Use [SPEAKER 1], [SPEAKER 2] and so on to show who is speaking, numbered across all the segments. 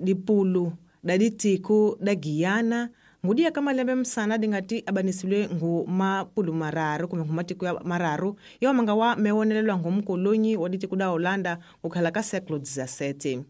[SPEAKER 1] Dipulu da ditiko da Guyana ngudiya ka malembe msana dingati abanisiwe ngu mapulu mararu kumbe ngu matiko ya mararu yawa manga wa mewonelelwa ngu mkolonyi wa ditiko da Holanda kukhala ka século XVII.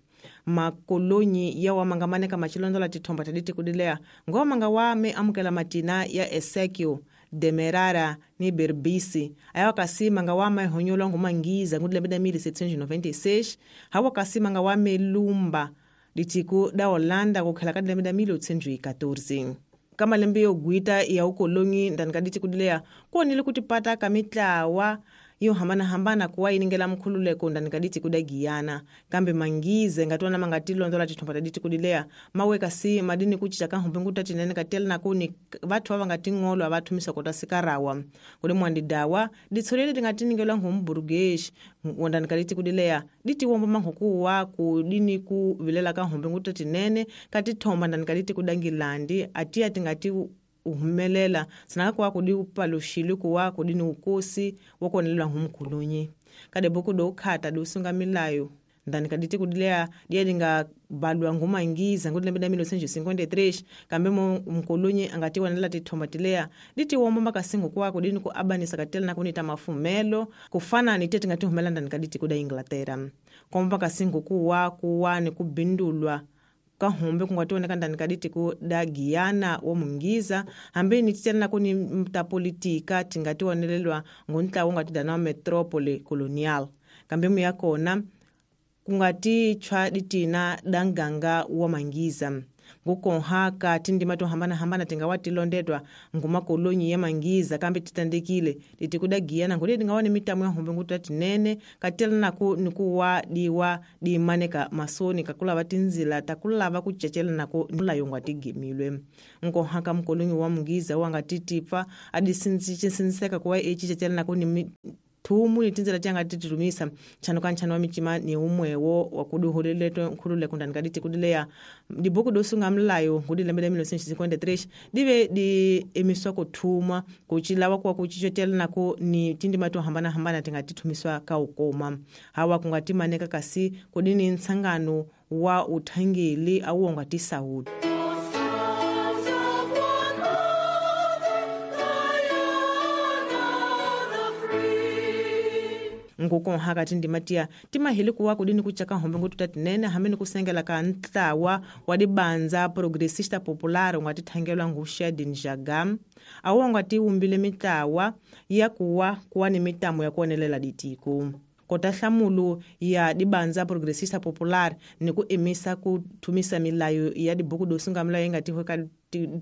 [SPEAKER 1] Makolonyi yawa manga maneka machilondola tithomba ta ditiko dileya ngowa manga wa me amukela matina ya Ezekiel, Demerara ni Berbisi ayawa kasi manga wa mahonyolwa ngu mangiza ngu dilembe da 1796 hawa kasi manga wa melumba ditiko da Holanda kukhala ka dilembe da 1814. Ka malembe yo gwita ya ukolonyi ndani ka ditiko dileya kuonile kuti pata ka mitlawa yo hambanahambana kuwa iningela mkhululeko ndani ka ditiko da Guyana kambe mangize ngatona mangatilondola tithomba ta ditiko dileya mawe kasi madini kuchicha ka humbe nguta tinene katela nakuni vathu va ngatingolwa va thumisa kota sikarawa kuli mwandidawa ditsolele tingatiningela ngumburugezi ndani ka ditiko dileya ditiwomba manghukuwa kudini ku vilela ka humbe nguta tinene ka tithomba ndani ka ditiko da Ngilandi atiya tingati uhumelela sinaka kuwa kudi upaluxile kuwa kudi ni ukosi wa kuonelelwa humkhulunyi kade buku do ukhata do usunga milayo ndani ka ditiko dileya diya dinga balwa ngumangiza ngu dilembe da 1953 kambe mo mkolonyi angati wanela tithomba tileya ditiwomba makasingo kuwa kudini ku abanisa katela na kunita mafumelo kufana ni tete ngati humela ndani ka ditiko da Inglaterra komba makasingo kuwa kuwa ni kubindulwa kahumbe kungationeka ndani ka ditiko da Guyana wa mungiza hambi ni titela kuni ta politika tingationelelwa nguntlawa ungatidana wa metropole colonial kambe muya kona kungati tshwa ditina da nganga wa mangiza ngukonha ka tindima to hambanahambana tingawa tilondetwa ngumakolonyi ya mangiza kambe titandekile ditiko da Guyana ngudi dingawa ni mitamu ya humbe nguta tinene katela naku nikuwa diwa dimaneka masoni kakulava tinzila takulava kuchechela naku mulayo ngwatigimilwe nkonha ka mkolonyi wa mungiza wangatitipfa adisinziseka kuwa echichechela naku ni thumu ni tindzela tianga tititumisa nchano ka nchano wa mitima ni umwewo wakuduhuliletwe nkhululeko ndani ka ditiko dileya dibuku dosunga mlayo ngudi lembe la 1953 dive di emiswa kuthuma kuchilawa kuwa kuchichotela nako ni tindima to hambanahambana tingatithumiswa ka ukoma hawa kungatimaneka kasi kudini ntsangano wa uthangeli awu wangatisawuti. Ngukonha ka tindima tiya timahili kuwa kudini kuchaka hombe ngututa tinene hambi ni kusengela ka ntlawa wa dibanza progressista popular ungatithangelwa ngu Shedin Jagam awu ungatiwumbile mitlawa ya kuwa kuwa ni mitamo ya kuonelela ditiko kota hlamulu ya dibanza progressista popular ni ku emisa ku thumisa milayo ya dibuku dosunga milayo ingatihwe ka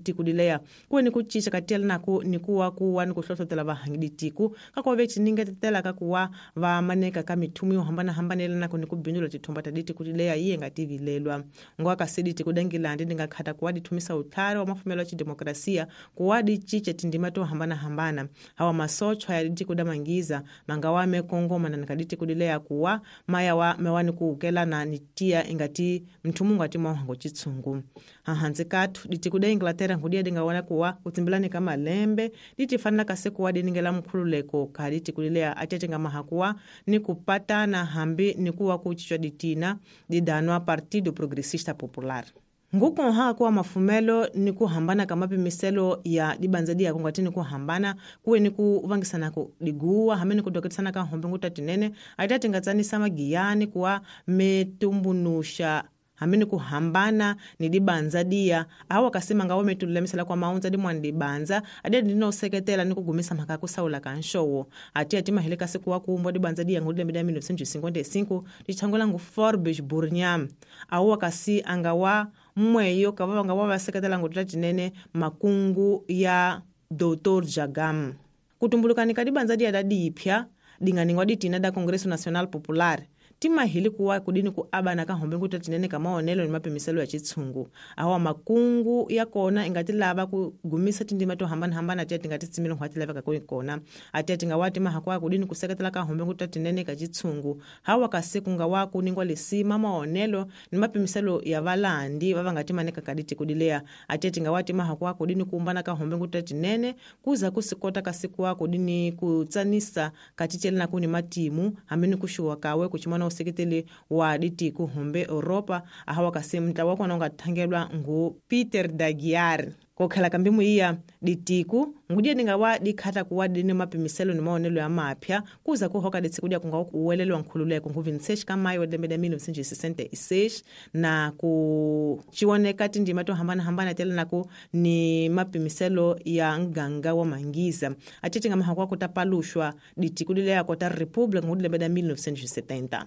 [SPEAKER 1] tiko dileya kuwe ni ku cinca ka tiyela naku ni kuwa kuwa ni ku hlohlotela vahangi ditiko ka kuva ve ciningetela ka kuwa va maneka ka mithumu yo hambanahambana naku ni ku bindula tithomba ta ditiko dileya yi nga tivilelwa ngowa kasi ditiko da Ngilandi di nga khata kuwa dithumisa utlhari wa mafumelo ya xidemokrasiya kuwa di cinca tindima to hambanahambana hawa masochwa ya ditiko da mangiza manga wa mekongoma na ka ditiko dileya kuwa maya wa mewani ku ukelana ni tiya ingati mthumu ngati mwahango chitsungu hahanzi kathu ditiko da Inglaterra ngudiya dingawana kuwa kutsimbilani ka malembe ditifanela kasi kuwa diningela mkhululeko ka ditiko dileya atetenga mahakuwa ni kupatana hambi ni kuwa kuchichwa ditina didanwa Partido Progressista Popular. Ngukonha kuwa mafumelo ni kuhambana ka mapimiselo ya dibanza diya kungati ni kuhambana kuwe ni kuvangisana ku diguwa hambi ni kudoketisana ka hombe nguta tinene atatingatsanisa magiyani kuwa metumbunusha hambi ni kuhambana ni dibanza diya awa kasima ngawo metululamisela kwa maundza dimwani dibanza adiya dinoseketela ni kugumisa mhaka kusaula ka nxowo atiya timahele kasi kuwa kuumbwa dibanza diya ngudi lembe da 1955 dichangola ngu Forbes Burnham awa kasi angawa mmweyo kava vanga wa vaseketela ngutula tinene makungu ya Dr. Jagam kutumbulukani ka dibanza diya da dipya dinganingwa ditina da Congresso Nacional Popular timahili kuwa kudini ku abana ka hombe nguta tinene ka maonelo ni mapimiselo ya chitsungu awa makungu ya kona ingati lava ku gumisa tindima to hambanahambana tiya tingati tsimile nkhwati laveka ku kona atiya tingawati mahakwa kudini kuseketela ka hombe nguta tinene ka chitsungu hawa kasi kungawa kuningwa lisima maonelo ni mapimiselo ya valandi va vangati maneka ka ditiko dileya atiya tingawati mahakwa kudini kuumbana ka hombe nguta tinene kuza kusikota kasi kuwa kudini kutsanisa kachichela na kuni matimu hambi ni kushuwa kawe kuchimana useketeli wa ditiko humbe Europa ahawa kasi mntlawa wa kona unga thangelwa ngu Peter Dagiar. Kokhala kambi muiya ditiku ngudiya dingawa dikhatha kuwa dini mapimiselo ni maonelo ya mapya kuza kuhoka ditsikudia kunga kuwelelwa nkhululeko ngu 26 ka maio lembe la 1966 na ku cioneka tindima to hambanahambana tela ni mapimiselo ya nganga wa mangiza acece nga mahakwa kuta paluxwa ditiku lile ya kota republic ngu lembe la 1970.